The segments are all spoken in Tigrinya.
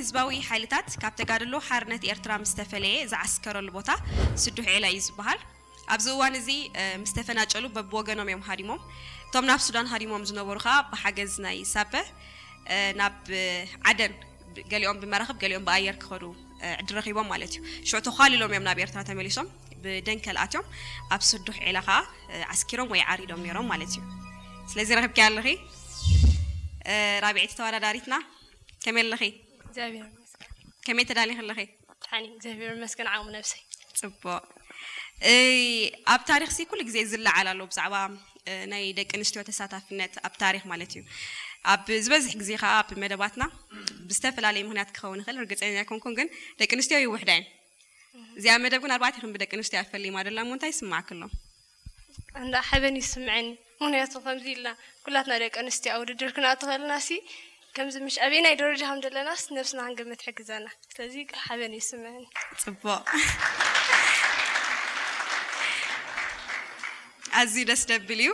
ህዝባዊ ሓይልታት ካብ ተጋድሎ ሓርነት ኤርትራ ምስ ተፈለየ ዝዓስከረሉ ቦታ ስዱሕ ዒላ እዩ ዝበሃል። ኣብዚ እዋን እዚ፣ እ፣ ምስ ተፈናጨሉ በብወገኖም እዮም ሃዲሞም። እቶም ናብ ሱዳን ሃዲሞም ዝነበሩ ኸኣ ብሓገዝ ናይ ሳበ፣ እ፣ ናብ፣ እ፣ ዓደን ብ-፣ ገሊኦም ብመራኽብ ገሊኦም ብኣየር ክኸዱ፣ እ፣ ዕድል ረኺቦም ማለት እዩ። ሽዑ ተዃሊሎም እዮም ናብ ኤርትራ ተመሊሶም። ብደንከል ኣትዮም ኣብ ስዱሕ ዒላ ኸኣ፣ እ፣ ዓስኪሮም ወይ ዓሪዶም ነይሮም ማለት እዩ። ስለዚ ረኺብኪያ ኣለኺ፣ እ፣ ራብዐይቲ ተወዳዳሪትና። ከመይ ኣለኺ? እግዚኣብሔር ይመስገን። ከመይ ተዳሊኺ ኣለኺ? ደሓን እየ፣ እግዚኣብሔር ይመስገን፣ ዓቕሚ ነብሰይ። ጽቡቕ። እ፣ ኣብ ታሪኽሲ ኩሉ ግዜ ዝለዓል ኣሎ ብዛዕባ፣ እ፣ ናይ ደቂ ኣንስትዮ ተሳታፍነት ኣብ ታሪኽ ማለት እዩ። ኣብ ዝበዝሕ ግዜ ኸኣ ኣብ መደባትና ብዝተፈላለየ ምኽንያት ክኸውን ይኽእል፣ ርግጸኛ ኣይኮንኩን፣ ግን ደቂ ኣንስትዮ ይውሕዳ እየን። እዚኣ መደብ ግን ኣርባዕቴኹም ብደቂ ኣንስትዮ እያ ፈሊማ ደላ እሞ እንታይ ይስማዓኪ ኣሎ? እንዳ ሓበን ይስምዐኒ። ምኽንያቱ ከምዚ ኢልና ኩላትና ደቂ ኣንስትዮ ኣብ ውድድር ክንኣቱ ከለና ሲ ከምዚ ምሽ ኣበየናይ ደረጃ ከም ዘለናስ ነብስና ክንገምት ይሕግዘና። ስለዚ ሓበን ይስምዐኒ። ጽቡቕ። ኣዝዩ ደስ ደብል እዩ።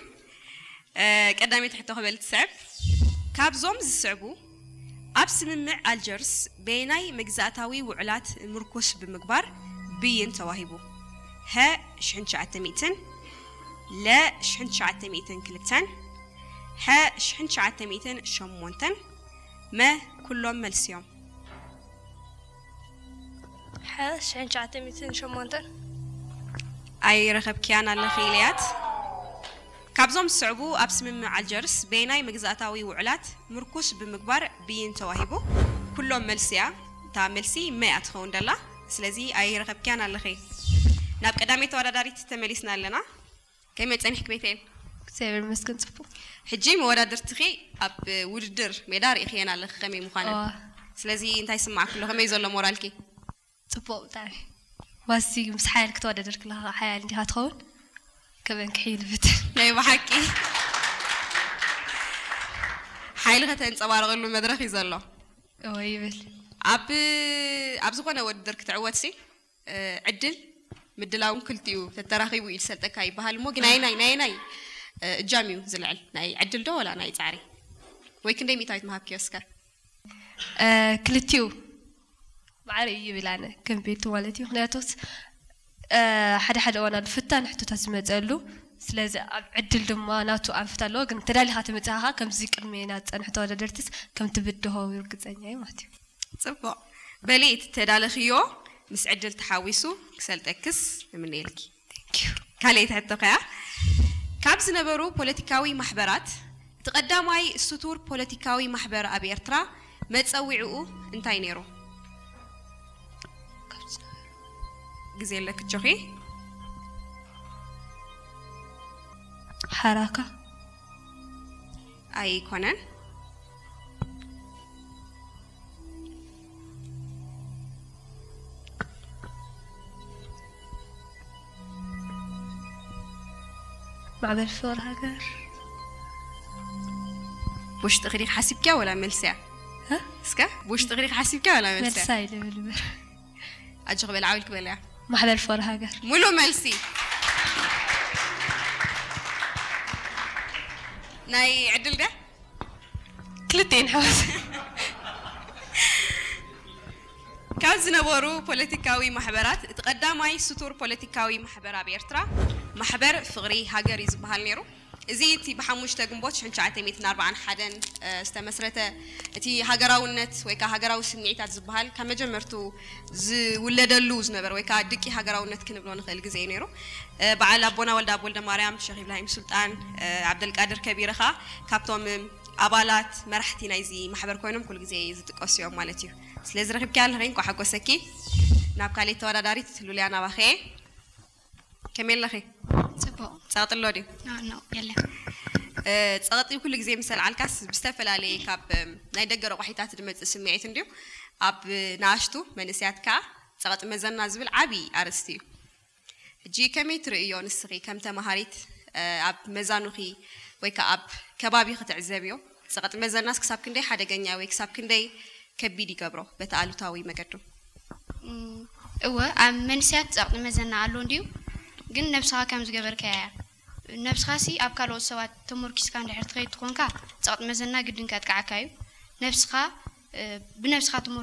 እ፣ ቀዳመይቲ ሕቶ ክበል ትስዕብ። ካብዞም ዝስዕቡ ኣብ ስምምዕ ኣልጀርስ በየናይ መግዛእታዊ ውዕላት ምርኩስ ብምግባር ብይን ተዋሂቡ? ሀ ሽሕን ትሽዓተ ሚእትን፣ ለ ሽሕን ትሽዓተ ሚእትን ክልተን፣ ሐ ሽሕን ትሽዓተ ሚእትን ሸሞንተን፣ መ ኩሎም መልሲ እዮም። ሐ ሽሕን ትሽዓተ ሚእትን ሸሞንተን። ኣይረኸብክያን ኣለኺ ኢለያት። ካብዞም ዝስዕቡ ኣብ ስምምዕ ኣልጀርስ በየናይ መግዛእታዊ ውዕላት ምርኩስ ብምግባር ብይን ተዋሂቡ? ኩሎም መልሲ እያ። እታ መልሲ መ እያ ትኸውን ደላ። ስለዚ ኣይረኸብክያን ኣለኺ። ናብ ቀዳመይ ተወዳዳሪት ተመሊስና ኣለና። ከመይ ጸኒሕኪ ቤተኤል? እግዚኣብሔር ይመስገን ጽቡቕ። ሕጂ መወዳድርትኺ ኣብ ውድድር ሜዳ ርኢኽየን ኣለኺ ከመይ ምዃነን። እዋ። ስለዚ እንታይ ይስማዓኪ ኣሎ? ከመይ ዘሎ ሞራልኪ? ጽቡቕ ብጣዕሚ። ዋሲ ምስ ሓያል ክትወዳደር ከለኻ ሓያል እንዲኻ ትኸውን? ከመን ክሕይል ብትን። ናይ ብሓቂ ሓይሊ ከተንጸባርቐሉ መድረኽ እዩ ዘሎ። እወ ይብል። ኣብ፣ ኣብ ዝኾነ ውድድር ክትዕወትሲ፣ እ፣ ዕድል ምድላውን ክልቲኡ ተተራኺቡ እዩ ዝሰልጠካ ይበሃል እሞ፣ ግን ኣየናይ፣ ናይ ኣየናይ፣ እ፣ እጃም እዩ ዝልዕል? ናይ ዕድል ዶ ወላ ናይ ጻዕሪ? ወይ ክንደይ ሚእታዊት ምሃብክዮ እስከ? እ፣ ክልቲኡ ማዕረ እዩ ይብል ኣነ፣ ከም ቤቱ ማለት እዩ። ምኽንያቱስ፣ እ፣ ሓደ ሓደ እዋን ኣሎ ፍታን ሕቶታት ዝመጸሉ። ስለዚ ኣብ ዕድል ድማ ናቱ ኣንፈት ኣለዎ፣ ግን ተዳሊኻ ተመጺኻ ከምዚ ቅድሜና ዝጸንሑ ተወዳደርትስ ከም ትብድሆ ርግጸኛ እየ ማለት እዩ። ጽቡቕ። በሊ እቲ ተዳለኽዮ ምስ ዕድል ተሓዊሱ ክሰልጠክስ ንምነየልኪ። Thank you። ካልኣይቲ ሕቶ ከያ፣ ካብ ዝነበሩ ፖለቲካዊ ማሕበራት እቲ ቀዳማይ ስቱር ፖለቲካዊ ማሕበር ኣብ ኤርትራ መጸዊዕኡ እንታይ ነይሩ? ካብ ዝነበሩ። ግዜ ኣለኪ ጆኺ። ሓራካ። ኣይኮነን። ማዕበል ፍቕሪ ሃገር። ብውሽጥኺ ዲኺ ሓሲብክያ ወላ መልስያ? እ? እስከ ብውሽጥኺ ዲኺ ሓሲብክያ ወላ መልስያ? መልሳ ኢለ በል እምበር። ኣጆኺ በል፣ ዓው ኢልኪ በልያ። ማሕበር ፍቕሪ ሃገር። ሙሉእ መልሲ። ናይ ዕድል ድያ? ክልቲኤን ሓወስ። ካብ ዝነበሩ ፖለቲካዊ ማሕበራት እቲ ቀዳማይ ስቱር ፖለቲካዊ ማሕበር ኣብ ኤርትራ ማሕበር ፍቕሪ ሃገር እዩ ዝበሃል ነይሩ። እዚ እቲ ብሓሙሽተ ግንቦት ሽሕን ትሽዓተ ሚእትን ኣርባዓን ሓደን፣ እ፣ ዝተመስረተ፣ እቲ ሃገራውነት ወይ ከኣ ሃገራዊ ስምዒታት ዝበሃል ካብ መጀመርቱ ዝውለደሉ ዝነበረ ወይ ከኣ ድቂ ሃገራውነት ክንብሎ ንኽእል ግዜ እዩ ነይሩ። እ፣ በዓል ኣቦና ወልደኣብ ወልደማርያም፣ ሸኽ ኢብራሂም ሱልጣን፣ እ፣ ዓብደልቃድር ከቢረ ከኣ ካብቶም ኣባላት መራሕቲ ናይዚ ማሕበር ኮይኖም ኩሉ ግዜ ዝጥቀሱ እዮም ማለት እዩ። ስለዚ ረኺብኪ ኣለኺ፣ እንቋዕ ሓጎሰኪ። ናብ ካልኣይቲ ተወዳዳሪት ሉልያ ናባኺ እየ። ከመይ ኣለኺ? ጽቡቕ። ጸቕጢ ኣሎ ድዩ? ኖ፣ ኖ፣ የለን። እ፣ ጸቕጢ ኩሉ ግዜ ምስ ኣልዓልካስ ብዝተፈላለየ ካብ፣ እም፣ ናይ ደገ ረቋሒታት ዝመጽእ ስምዒት እንድዩ። ኣብ ንኣሽቱ መንእሰያት ከኣ ጸቕጢ መዘና ዝብል ዓቢ ኣርእስቲ እዩ። ሕጂ ከመይ ትርእዮ ንስኺ ከም ተማሃሪት፣ እ፣ ኣብ መዛኑኺ ወይ ከኣ ኣብ ከባቢ ክትዕዘብዮ፣ ጸቕጢ መዘናስ ክሳብ ክንደይ ሓደገኛ ወይ ክሳብ ክንደይ ከቢድ ይገብሮ በቲ ኣሉታዊ መገዱ? እም፣ እወ፣ ኣብ መንእሰያት ጸቕጢ መዘና ኣሎ እንድዩ፣ ግን ነብስኻ ከም ዝገበርካያ እያ። ነብስኻሲ ኣብ ካልኦት ሰባት ተመርኪስካ እንድሕር ትኸይድ ትኾንካ፣ ጸቕጢ መዘና ግድን ከጥቅዓካ እዩ። ነብስኻ፣ እ፣ ብነብስኻ ተመር-፣